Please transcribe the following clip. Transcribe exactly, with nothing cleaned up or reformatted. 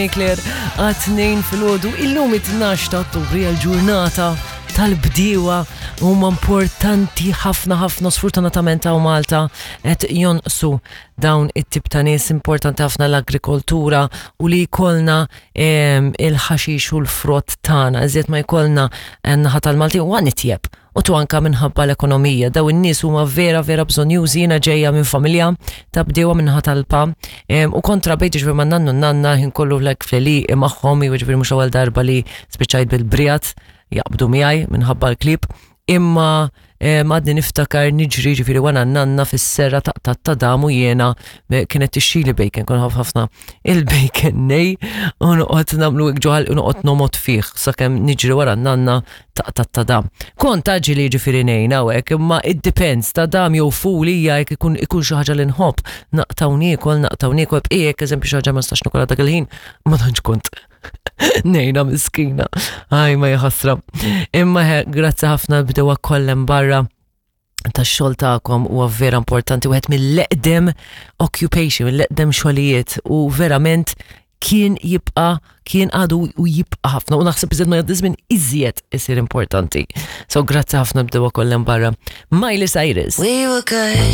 Claire, għat-tnejn filgħodu, illum it-tnax ta' Ottubru hija l-ġurnata tal-bdiewa. Huma importanti ħafna ħafna. Sfortunatament hawn Malta qed jonqsu dawn it-tip ta' nies. Importanti ħafna l-agrikoltura u li jkollna em, il-ħaxix u l-frott tagħna. Iżjed ma jkollna naħa tal-Malti u nitjeb. U tu anka minħabba l-ekonomija. Daw in-nies huma vera vera bżonjużi. Jiena ġejja minn familja ta' bdiewa minnaħa tal-pa Em, u kontra bejt ġifieri ma' nannu nanna ħin kollu like fl-għelieqi magħhom, jiġifieri mhux ewwel darba li spiċċajt bil-briat jaqbdu miegħi minħabba l-klib. Imma em, għadni niftakar niġri ġifieri wara nanna fis-serra taqta' tadam u jiena eh, kienet tixtrili bacon, kon ħafna il-bacon nej u noqgħod nagħmlu hekk ġo ħalqi u noqgħod nomgħod fih sakemm niġri wara nanna taqta' tadam. Kont taġi li ġifieri ngħin hawnhekk, imma it depends, tadam jew ful hija jekk ikun ikun xi ħaġa li nħobb, naqta' u niekol, naqta' u niekol, bqijek eżempju xi ħaġa ma nistax nikolha dak il-ħin, ma tantx kont ngħinha miskina. Aj, ma jħasra. Imma he, grazzi ħafna bdiewa kollha barra tax-xogħol tagħkom, huwa vera importanti, wieħed mill-eqdem occupation, mill-eqdem xogħlijiet u verament kien jibqa' kien għadu u jibqa' ħafna u naħseb iżjed ma jgħaddi żmien iżjed isir importanti. So grazzi ħafna bdiewa kollha barra. Miley Cyrus. We were good.